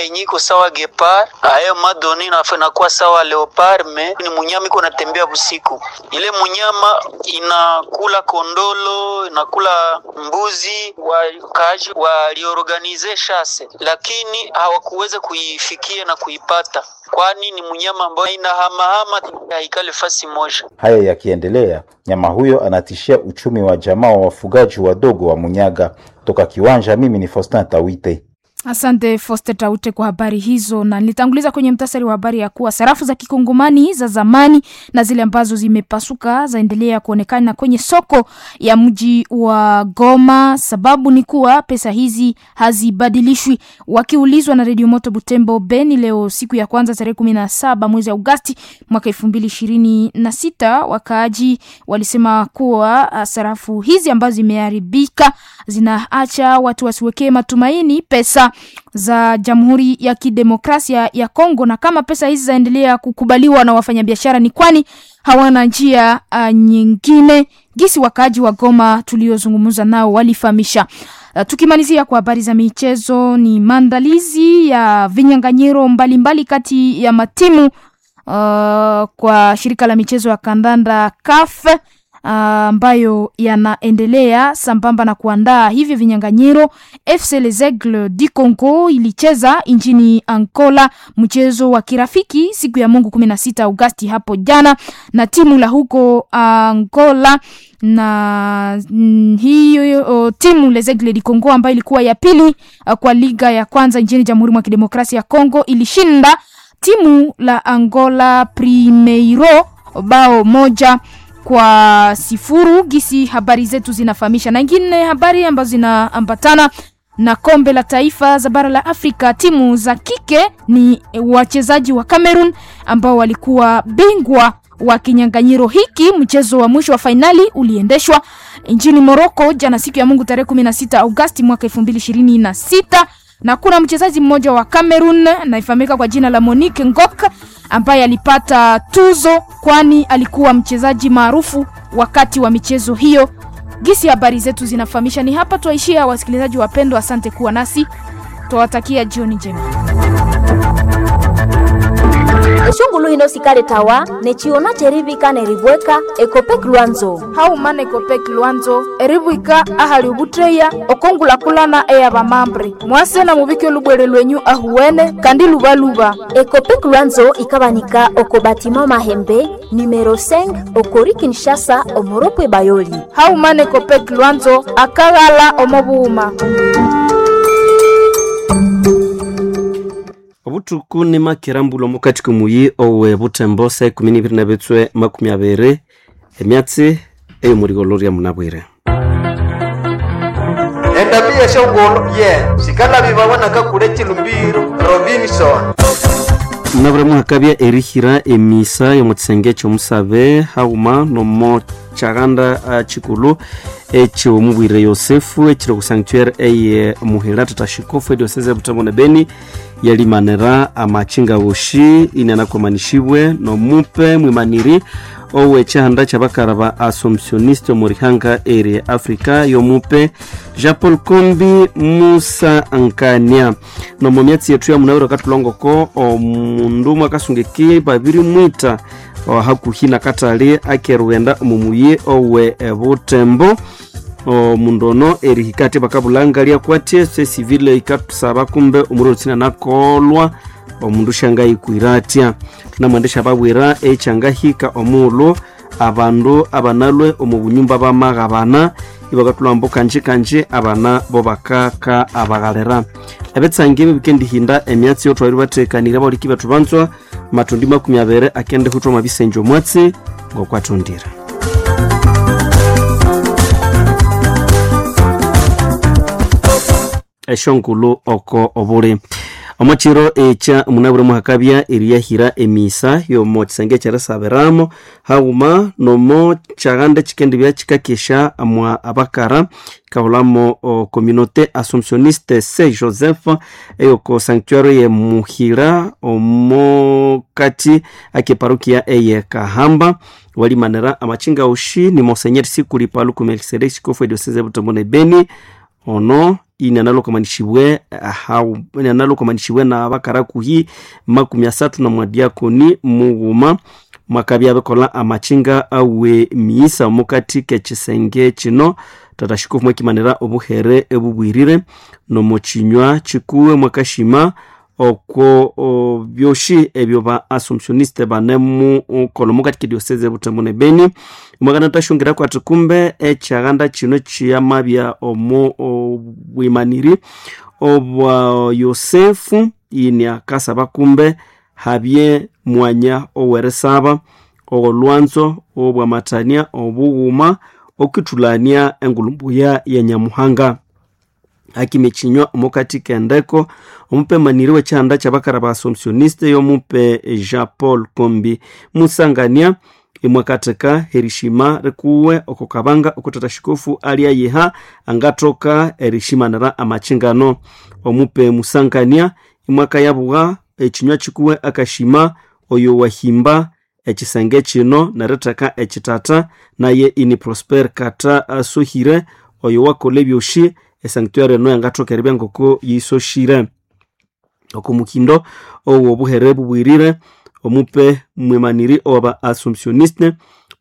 Yenye iko sawa guépard, ayo madoni nakuwa sawa léopard, mais ni munyama iko natembea busiku. Ile munyama inakula kondolo, inakula mbuzi. Wakaaji waliorganiser chasse, lakini hawakuweza kuifikia na kuipata, kwani ni munyama ambayo inahamahama, haikale fasi moja. Haya yakiendelea, nyama huyo anatishia uchumi wa jamaa wa wafugaji wadogo wa Munyaga. Toka Kiwanja, mimi ni Faustin Tawite. Asante Foste Taute kwa habari hizo, na nilitanguliza kwenye mtasari wa habari ya kuwa sarafu za kikongomani za zamani na zile ambazo zimepasuka zaendelea kuonekana kwenye soko ya mji wa Goma. Sababu ni kuwa pesa hizi hazibadilishwi. Wakiulizwa na Redio Moto Butembo Beni leo siku ya kwanza tarehe 17 mwezi Agosti mwaka 2026, wakaaji walisema kuwa sarafu hizi ambazo zimeharibika zinaacha watu wasiwekee matumaini pesa za Jamhuri ya Kidemokrasia ya Kongo, na kama pesa hizi zaendelea kukubaliwa na wafanyabiashara ni kwani hawana njia nyingine, gisi wakaaji wa Goma tuliozungumza nao walifahamisha. Tukimalizia kwa habari za michezo, ni maandalizi ya vinyang'anyiro mbalimbali kati ya matimu kwa shirika la michezo ya kandanda CAF ambayo yanaendelea sambamba na kuandaa hivyo vinyang'anyiro. FC Les Aigles du Congo ilicheza nchini Angola mchezo wa kirafiki siku ya Mungu 16 Agosti hapo jana na timu la huko Angola na hiyo timu Les Aigles du Congo ambayo ilikuwa ya pili kwa liga ya kwanza nchini Jamhuri mwa Kidemokrasia ya Kongo ilishinda timu la Angola Primeiro bao 1-0. Gisi habari zetu zinafahamisha. Na ingine habari ambazo zinaambatana na kombe la taifa za bara la Afrika, timu za kike ni wachezaji wa Cameroon ambao walikuwa bingwa wa kinyang'anyiro hiki. Mchezo wa mwisho wa fainali uliendeshwa nchini Morocco jana siku ya Mungu tarehe 16 Agosti mwaka 2026 na kuna mchezaji mmoja wa Cameroon anayefahamika kwa jina la Monique Ngok ambaye alipata tuzo kwani alikuwa mchezaji maarufu wakati wa michezo hiyo. Gisi habari zetu zinafahamisha. Ni hapa twaishia, wasikilizaji wapendwa, asante kuwa nasi, twawatakia jioni njema. Eshungulu hino sikale tawa nechiona cherivika neribweka ekopek lwanzo haumana ekopek lwanzo eribwika ahali ubutreya okongulakulana eyabamambre mwase na mubike lubwere lwenyu ahuwene kandi lubaluba. Ekopek lwanzo ikabanika oko batima mahembe numero 5 okori Kinshasa omoropwe bayoli. Haumana ekopek lwanzo akaghala omobuuma. Obutuku ni makirambulo mukati kumuyi owe butembo saa 12:20 emyatsi ey'omuligolo lya munabwire. Endabia shongolo ye sikala bibabona kakule chilumbiro Robinson. Munabwire muhakabya erihira emisa y'omukisenge ky'omusabe hauma nomo kyaganda chikulu ekyomubwire Yosefu ekiri ku sanctuary eye muhira tata shikofu edioseze Butembo ne Beni yalimanira amachinga woshi inanakomanishibwe nomupe mwimaniri owe kyahanda kyabakara ba Assumptioniste omurihanga eri Africa yomupe Jean Paul Kombi Musa Nkania. Nomo myatsi yetu ya munawiro katulongoko omundu umwe akasungiki babiri mwita hakuhi na katali akerughenda omumuyi owe Butembo. Omundu ono erihika ati bakabulanga lyakwatie se civile ikatusaba kumbe omuliro tsina nakolwa omundu shangayikwira atya. Tunamwendesha babwira ekyangahika omughulhu abandu abanalwe omu bunyumba bamaghabana ibakatulhambo kanji kanji abana bo bakaka abaghalera. Ebitsangi ebi bikendihinda emyatsi yotwalire bathekanire abaholiki bethu banzwa matundi 20 akende huthwa mwabisenje omwatsi ngokwathondire. Esyonkulu oko obuli omwakiro ekya munabwire muhakabya eriyahira emisa yomo kisenge ekyerisabiramo haghuma nomo kyaghanda ekikendibya kikakesha mwa abakara ikahulamo communauté assumptionniste Saint Joseph eyoko sanctuary ye Muhira omo kati ake parokia eye Kahamba. Walimanira amachinga ushi ni Monseigneur Sikuli Paluku Melkisedeki shikofu edioseze Butembo ne Beni. Ono inyanalokomanishibwe inyanalokomanishibwe na bakarakuhi 30 na mwadiakoni mughuma mwakabya bikola amachinga awe miisa mukati kekisenge kino. Tata shikofu mwakimanira obuhere ebubwirire nomukinywa kikuwe mwakashima okwo byoshi ebyo ba assumptioniste banemu kola mukati kedioseze Butembo ne Beni. Mwakana tashungira kwati kumbe ekyaganda kino kiyamabya omu obwimaniri obwa Yosefu ini akasaba kumbe habye mwanya oweresaba ogolwanzo obwamatania obughuma okithulania engulumbuya ya Nyamuhanga. Akimichinywa omukati kendeko omupe maniri w'ekyanda kyabakara ba assumptioniste yomupe Jean Paul Kombi Musangania imwakatheka erishima rikuwe oko kabanga okutata shikofu alyayiha angathoka erishimanira amachingano. Omupe Musangania imwakayabugha ekinywa kikuwe akashima oyo wahimba ekisenge kino neritheka ekitata naye ini Prosper Kata asohire oyo wakola ebyoshi esanctuary eno yangathoka eribya ngoko yisoshire. Oko mukindo owo obuhere bubwirire omupe mwimaniri owaba assumptioniste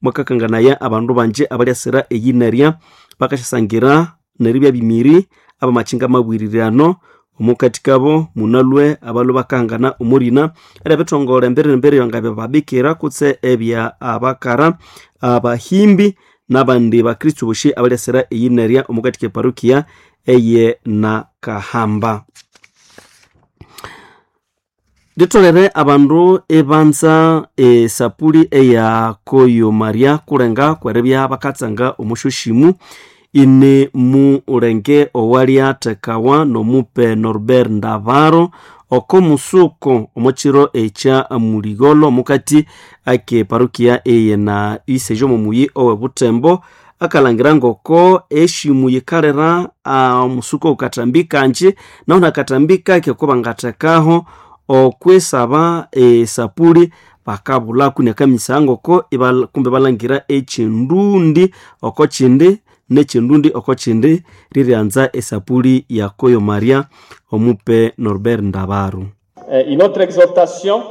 mwakakanganaya abandu banje abalyasira eyinerya bakasyasangira neribya bimiri abamachinga mabwirirano omukati kabo munalwe abalwe bakahangana omurina era ebithongole embere embere yangabya babikira kutse ebya abakara abahimbi n'abandi bakristu boshi abalyasira eyinerya omukati keparukia eye na Kahamba. Litolere abandu ebanza esapuli eya Koyo Maria kulenga kweribya bakatsanga omushoshimu ini mulenge owalyathekawa nomupe Norbert Ndavaro oko musuko omukiro ekya muligolo mukati ake parukia eye na isejo mumuyi owe Butembo akalangira ngoko eshimu yikalera omusuko ukatambi kanje naho nakatambi kake ko bangathekaho okwisaba esapuli bakabulaku nekamisa ngoko kumbe balangira ekindundi oko kindi nekindundi oko kindi riryanza esapuli ya Koyo Maria omupe Norbert Ndavaro. Une autre exhortation,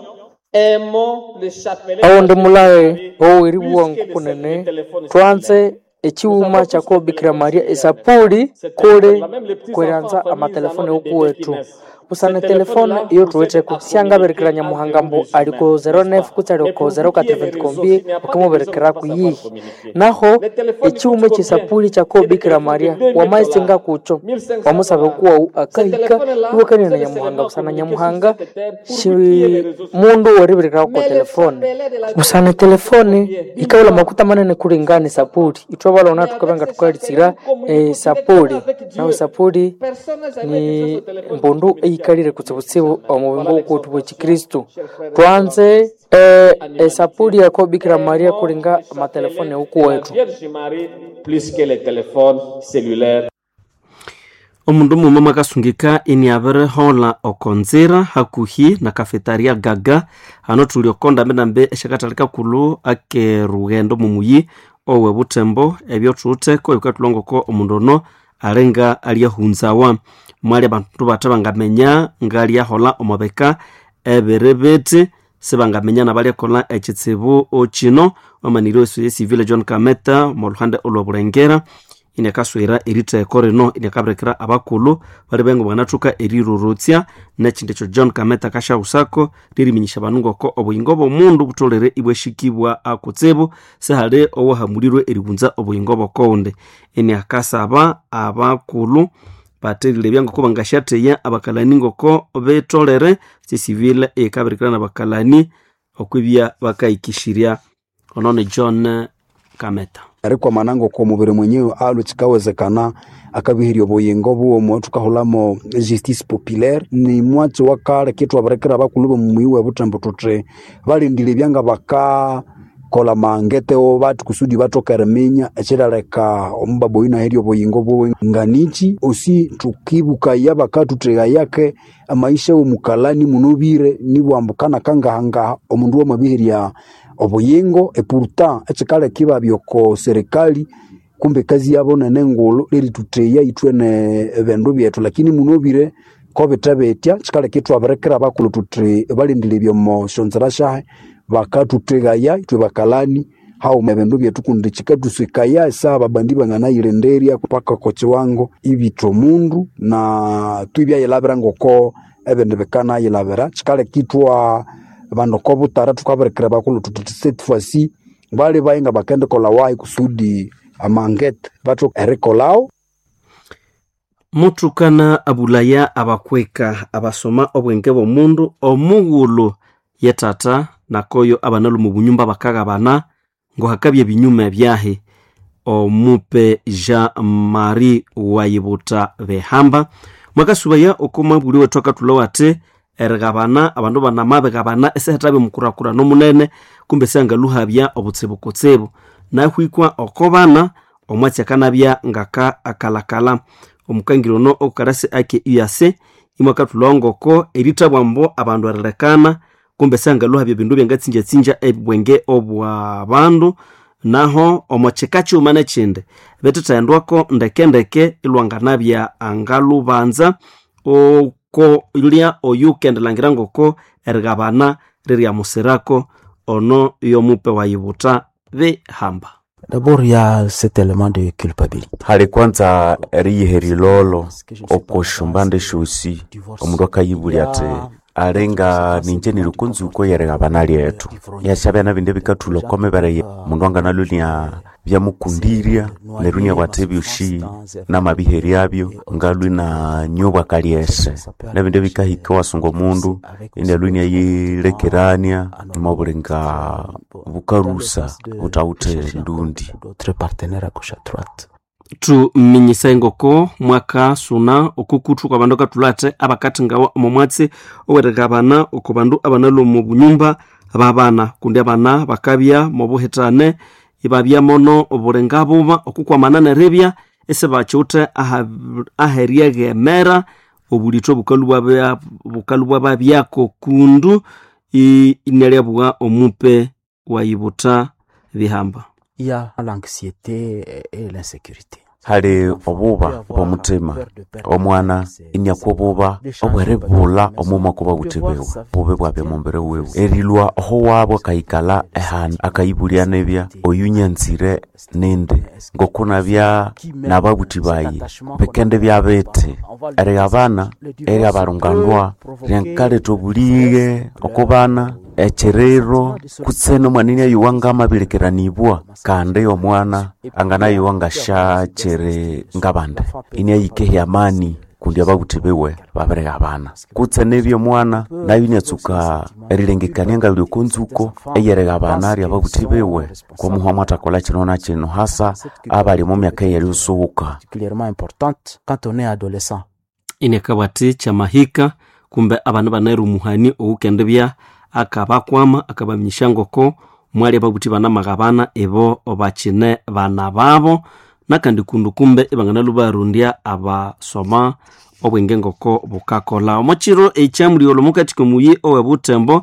aimons le chapelet. Awundi mulaye oweriwa nkukunene twanze ekiwuma kyako Bikira Maria esapuli kuli kweranza amatelefone okuwetu busana telefone iyo tuwetheko syangaberekera Nyamuhanga mbu aliko 09 kutse aliko 04 kombi ukimuberekeraku yihi naho ekiwuma ekyesapuli kyako Bikira Maria wamaisinga kucho wamusabe kuwawu akahika iwakanire na Nyamuhanga busana Nyamuhanga shi mundu weriberekeraku kwa telefone busana telefone ikawula makuta manene kulingana esapuli ithwe balona tukabenga tukalitsira esapuli nawe esapuli ni mbundu eyikalire kutsibutsibu omubingo wukuwethu bwekikristu twanze esapuli yako Bikira Maria kulinga amatelefone wukuwethu. Omundu muma mwakasungika iniabirihola okonzira hakuhi na kafetaria Gaga hano thuli oko ndambendambe esyakathali kakulhu akerughendo mumuyi owe Butembo ebyo thuwitheko ebikathulha ngoko omundu ono alinga alyahunzawa. Mwali abandu bathe bangaminya ngalyahola omubika ebiribiti sibangaminya nabalyakolha ekitsibu kino. Wamaniri w'esu civil John Kameta omolhuhande olw'obulengera inakaswira eritheko rino inakabirekera abakulhu bali bengo banathuka erirorotsya nekindi ekyo John Kameta kashaghusako liriminyisya abandu ngoko obuyingo bw'omundu butholere ibwashikibwa akutsibu sihali owahamulirwe eribunza obuyingo bw'okowundi. Iniakasaba abakulhu batherilebya ngoko bangasyatheya abakalani ngoko betolere sisivile eyikabirikira nabakalani okwibya bakahikishirya. Ono ni John Kameta. Erikwamana ngoko omubiri mwenyewe alwe kikawezekana akabihirya obuyingo bwomwe thukahulamo justice populaire ni mwatsi wa kale kitwabirekera abakulhu b'omuyi w'ebutembo thuthi balindire ebyanga bakakola mangetewo bathi kusudi bathoke eriminya ekiryaleka omubaba oyu inaherya obuyingo bwiwe nganichi osi thukibukaya bakathuthegayake amaisha w'omukalani munobire nibwambukana kangahangaha omundu wamabiherya obuyingo epurta ekikaleka ibabya oko serikali. Kumbe kazi yabo nene ngulu lerituteya ithwene ebindu byethu, lakini munobire ko bithe bitya kikaleka ithwabirekera abakulhu thuthi balindire ebyomo syonzira syahe bakathuthegaya ithwe bakalani haghuma ebindu byethu kundi kikathusikaya esaha ababandi banganayirindirya paka oko kiwango ibitha omundu na thwibyayilabira ngoko ebindi bikanayilabira. Kikaleka ithwa bandu oko butara thukabirikira abakulhu thuthi cette fois-ci bali bayi nga bakendikolha wahi kusudi amangete bathoke erikolhawo. Muthukana abulaya abakweka abasoma obwenge bw'omundu omughulhu ye tata nakoyo abanalhwa omu bunyumba bakagabana ngohakabya ebinyuma byahi. Omupe Jean Marie Wayibuta Behamba mwakasubaya oko mwabuli wethu akathulhawa athi erigabana abandu banamabigabana esihathabya omukurakurana omunene kumbe esyangalhuhabya obutsibu kutsibu nahwikwa oko bana omwatsi akanabya ngaka akalakala. Omukangiri ono okukalasi ake EAC imwakathulhawa ngoko erithabwa mbo abandu erilekana kumbe esyangalhuhabya ebindu ebyangatsingyatsinja obwenge obwa bandu naho omo kika kighuma nekyindi bithethendwako ndekendeke ilwanganabya angalhubanza oko lya oyukendilangira ngoko erigabana riryamusirako ono yomupe Wayibuta Bihamba. D'abord, il y a cet élément de culpabilité. Hali kwanza eriyiha erilolo okosyombande syosi omundu akayibulya athi alinga ninje nilikunzuko yerigabana lyethu yasyabya nabindi ebikathulha oko mibere mundu anganalhwa byamukundirya neryo inabugha athi ebyosi namabiheryabyo ngalhwa inanywa obwakalyese nebindi ebikahika iwasunga omundu inalhwa inayilekerania omwabulinga bukarusa buthawithe ndundi. Thuminyisa engoko mwakasuna okukuthu kwa bandu akathulha athi abakathingawa omo mwatsi owerigabana oko bandu abanalhwa omu bunyumba babana kundi abana bakabya mobuhithane ibabya mono obulinga buba okukwamana neribya isibakiwithe aheryeghemera obulitho bukalhu bwababyako kundu inalyabugha omupe Wayibuta Bihamba. Il y a l'anxiété et l'insécurité. Hali obuba bw'omuthima omwana iniakwa obuba obweribulha omwuma okwa babuthi biwe bubi bwabya omumbere wiwe erilhwa oho wabu akayikalha ehandu akayibulya nibya oyu nyanzire nindi ngokunabya nababuthi bayi bikende byabithi erighabana eryabarungandwa ryankaletha obulighe oko bana ekyiriro kutse nomwana inayowa ngamabirikiranibwa kandi omwana anganayowa ngasyakyiri ngabandi inayikehya amani kundi ababuthi biwe babirighabana kutse nibya omwana nayo inatsuka erilengekania ngalhi oko nzuko eyerighabana ryababuthi biwe komuhwa mwathakolha kino na kino hasa abali omo myaka eyerisuhuka. Inakabugha athi kyamahika kumbe abana banayira omuhani owukendibya akabakwama akabaminyisya ngoko mwali ababuthi banamaghabana ibo bakine bana babo nakandi kundu kumbe ibanganalhwa barondya abasoma obwenge ngoko bukakolha. Omo kiro ekyamulyolho omukati komuyi owe Butembo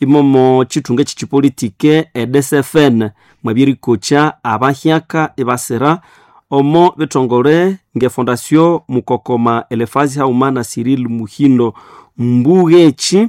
imomo kithunga ekyekipolitike e DCFN mwabya erikokya abahyaka ibasira omo bithongole nge Fondation Mukokoma Elefazi haghuma na Cyril Muhindo Mbugeki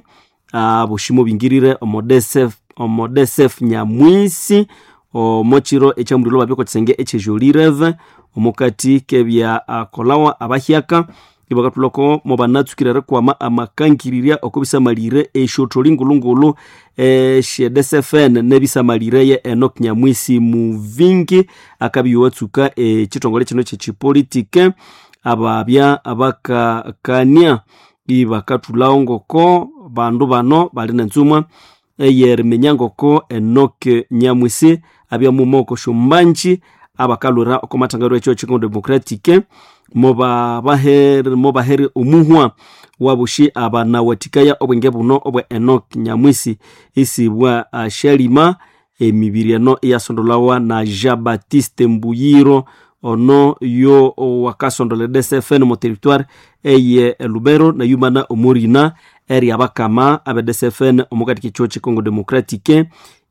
aboshi mubingirire omo DCF, omo DCF Nyamwisi omo kiro ekyamulyolho babya oko kisenge ekyejolireve omukati kebya kolawa abahyaka ibakathulhako mubanatsukire erikwama amakangirirya oko bisamalire esyotholi ngulungulu esye DCFN nebisamalireye Enoch Nyamwisi Muvingi akabya iwatsuka ekithongole kino kyekipolitike ababya bakakania ibakathulhawo ngoko bandu bano bali nenzumwa eyeriminya ngoko Enoch Nyamwisi abya muma oko syombanji abakalhwira oko mathangaliro ekyo Congo Democratic mobahere omuhwa wabushi abanawathikaya obwenge buno obwa Enoch Nyamwisi isibwa Shalima emibiri eno iyasondolawa na Jean Baptiste Mbuyiro ono yo wakasondola DCFN mu territoire eye Lubero na yumana omurina eri abakama abe DCFN omukati k'ekyo Congo Democratique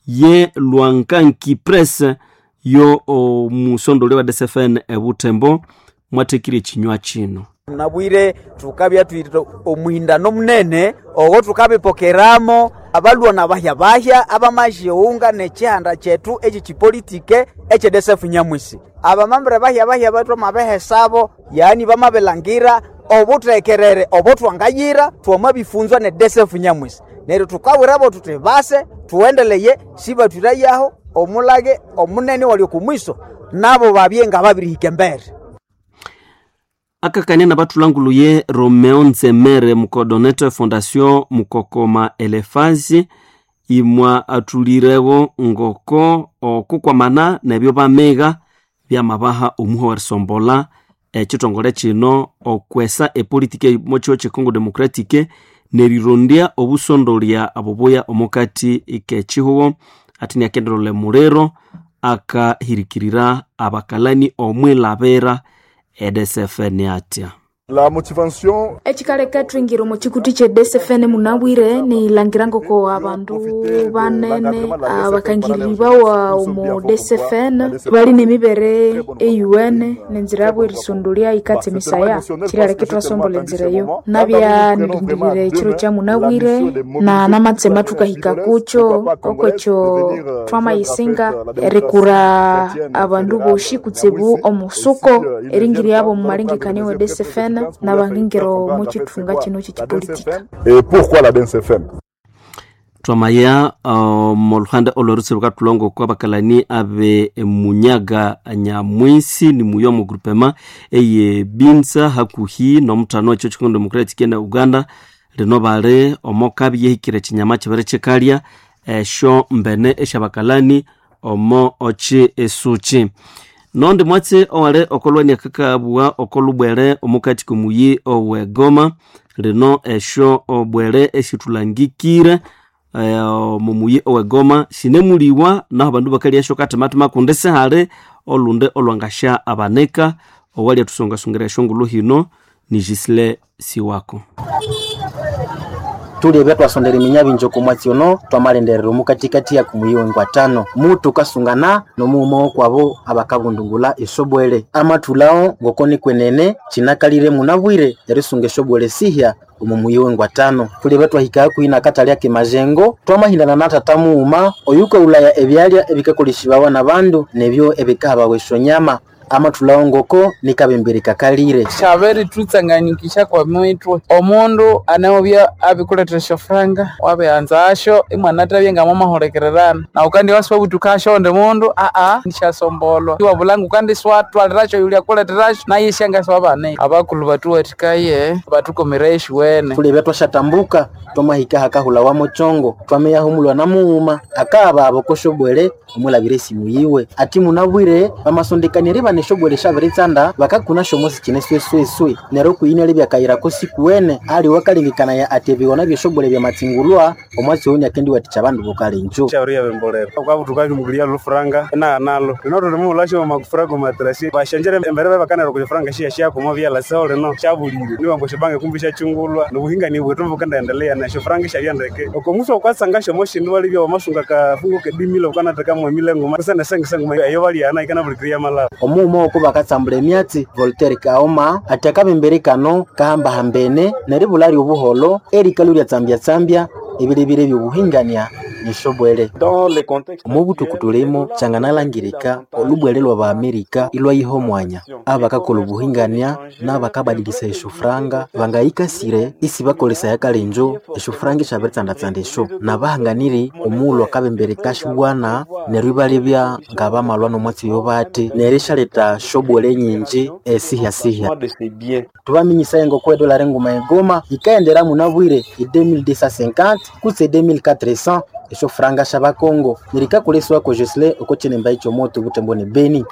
ye Lwankanki Press Yo omusondoli wa DCFN ebutembo mwathekire ekinywa kino. Nabwire tukabya twite omuhindano munene ogo tukabipokeramo abalwa na bahya bahya abamajiunga n'ekihanda kyethu eki kipolitike ekye DCF Nyamwisi. Abamambere bahya bahya bethu amabehesabo, yaani bamabilangira obuthekerere obutwangayira twamabifunzwa ne DCF Nyamwisi. Neryo tukawirabo tuthi base tuwendeleye sibathwirayaho omulage omunene wali okumwiso nabo babye nga babirihika embere. Akakania na bathulanguluye Romeo Nzemere mucoordinateur Fondation Mukokoma Elefazi imwa athulirewo ngoko okukwamana nebyo bamega byamabaha omuha werisombola ekithongole kino okwesa epolitiki mokiho kye Congo Democratic nerirondya obusondolya obubuya omukati k'ekihugo. Ati niakenderole muliro akahirikirira abakalani omwilabira EDCFN atya. La motivation ekikaleka twingira omu kikuti kye DCFN munabwire nilangira ngoko abandu banene abakangiriri bawa omu DCFN bali nemibere eyuwene nenzira yabo erisondolya ikatse emisaya kiryaleka twasombola enzira eyo. Nabya nilindirire ekiro kya munabwire na namatsema thukahika kukyo okwekyo twamayisinga erikura abandu boshi kutsibu omusuko eringiryabo omu malengekania wa DCFN nabangingiro mu kithunga kino kyekipolitika. Et pourquoi la DNCFM? Twamaya moluhanda olwerutsi lukatulongo kwa bakalani abe Munyaga Nyamwisi ni muyo mu groupement eye Binza hakuhi nomutano ekyo Congo Democratic na Uganda lino bale omokabi yehikire chinyama kibere kikalya esho mbene eshabakalani omo ochi esuchi. Nondi mwatse owale okolwania kakabwa okolubwere omukati kumuyi owegoma lino esho obwere eshithulangikire mumuyi owegoma sinemuliwa naho bandu bakalya esho katimatima kundi sihali olunde olwangasha abaneka owalya thusongasongera eshongolo hino ni Gisle Siwako. Tulebya twasondera eminyabinji oku mwatsi ono twamalenderera omukatikati ya kumuyiwe ngwatano mutu kasungana nomuuma okwabo abakabundungula esobwele amathulawo ngoko nikwenene kinakalire munabwire erisunga esobwele sihya omu muyiwe ngwatano. Tulebya twahika hakuhi nakatale ake majengo twamahindana na tata muuma oyukaghulaya ebyalya ebikakolesibwawa nabandu nebyo ebikahabawa esyonyama amathulawo ngoko nikabembere kakalire. Kyabere thutsanganyikisha kwa mitwe omundu anawubya abikuletera esyofuranga wabianzasyo imwana athabye ngamwamahulikirirana nawu kandi wasiwabuthukasyo ondi mundu nisyasombolwa iwabulanga kandi siwathwalirasyo yulya akuleterasyo naye isyangasiwabanika. Abakulhu bathuwathikaye bathukomereye esyiwene. Tulebya twasyatambuka twamahika hakahulawa mukyongo twameyahumulwa mughuma akababa okosyobwele omwilabira esimu yiwe ati munabwire bamasondekanire bana esyobwele syabiritsanda bakakuna syomosi kine swesweswe neryo okuyina libyakayirako sikuwene ali wakalengekanaya ati ebighona byesyobwele byamatsingulwa omwatsi oyu niakendiwathikya abandu bokalenjo. Kyabiriyabembolera okabutuka bimugulia lufuranga enaghanalo lino thulimughulhasyo makufura gomatrasi basyanjere embere babakanira okufuranga shiyashakomo byala seho lino syabulire niwambu esyobanka kumbi syakyungulwa nobuhingani bwethu bukendaendelea nesyo furanga syabyandeke okomusi okatsanga syomo shindu walibya wamasunga kafungu kedimile ukanathekamu emile nguma kusana sengesenguma eyo balyana ikanabulikirya malaba. Omughuma oko bakatsambula emyatsi Voltaire Kaoma ati akabembere kano kahambahambene neribulha lyobuholho erikalhu lyatsambyatsambya ebilebile ebyobuhingania nesyobwele. Omubuthuku thulimo kyanganalangirika olubwele lwa Amerika ilwayiha omwanya abakakolha obuhingania nabakabadilisa esyofuranga bangayikasire isibakolesaya kalenjo esyofuranga esyabiritsanda-tsanda esyo nabahanganiri omughulhu akabembere kasyibwana neryo ibalebya ngabamalwa nomwatsi oyo bathi neryo isyaletha syobwele nyingi esihyasihya. Thubaminyisaya ngoko edollar enguma egoma yikaghendera munabwire e 2250 kutse 2400 esyofuranga syabakongo nerikakolesiwako Gisle oko kinemba ekyomoto Butembo ne Beni.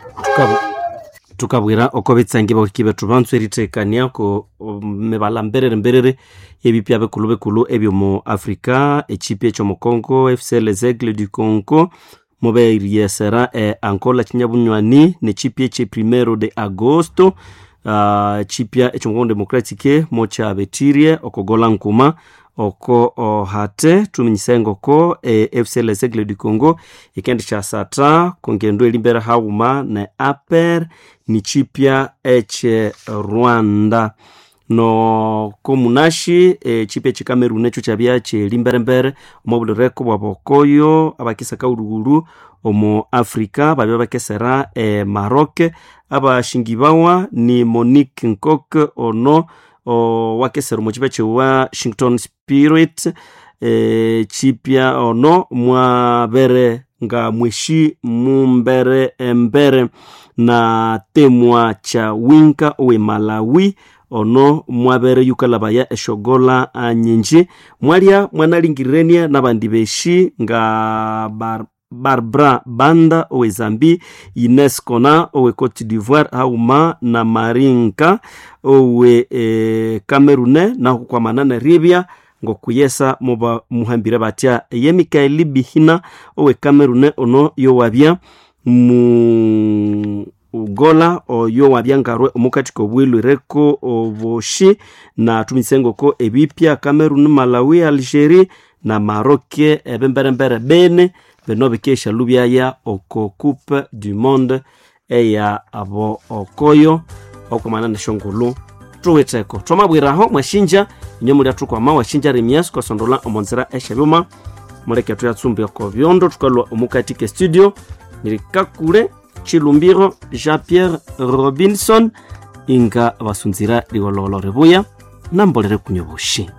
Tukabwira oko bitsangi bahiki bethu banzwe erithekania ko mibala mberere mberere ebipya bikulu bikulu ebyomu Afrika ekipi ekyomu Congo FC Les Aigles du Congo muberyesera Angola kinyabunywani nekipi ekye primero de agosto chipya ekyomu Congo Democratic mokyabethirie okogola nkuma. Oko ohate tuminyise ngoko FC Les Aigles du Congo ikendi kyasatha kongendo elimbere haghuma ne APR ni chipya eche Rwanda. No komunashi chipya chikamerun ekyo kyabya kyelimberembere omo bulireko bwabokoyo abakisaka ulugulu omo Afrika babya bakesera Maroc. Abashingibawa ni Monique Nkok ono wakesera omo chipya kye Washington Spirit, chipya ono mwabere nga mweshi mumbere embere na temwa cha winka owe Malawi ono mwabere yukalabaya eshogola nyinji mwalya mwanalingirenia n'abandi beshi nga Barbara Banda owe Zambi, Ines Kona owe Cote d'Ivoire hauma na Marinka owe Cameroon naho kwamana na Libya ngokuyesa muba muhambire batya ye Mikaeli Bihina owe Cameroon ono yowabya mu ugola oyo wabyangarwe omukati kobwilwireko oboshi na tumisengoko ebipya Cameroon, Malawi, Algeria na Maroc ebemberembere bene bino bikesha lubyaya oko Coupe du Monde eya abo okoyo okomana neshongulu tuwitheko twamabwiraho mwashinja inyo mulya thukwama washinja remias kwasondola omonzera eshebyuma muleke thuyatsumbi oko byondo thukalwa omukati ke studio nirikakule Chilumbiro Jean Pierre Robinson inga basunzira rigololo ribuya nambolere kunyoboshi.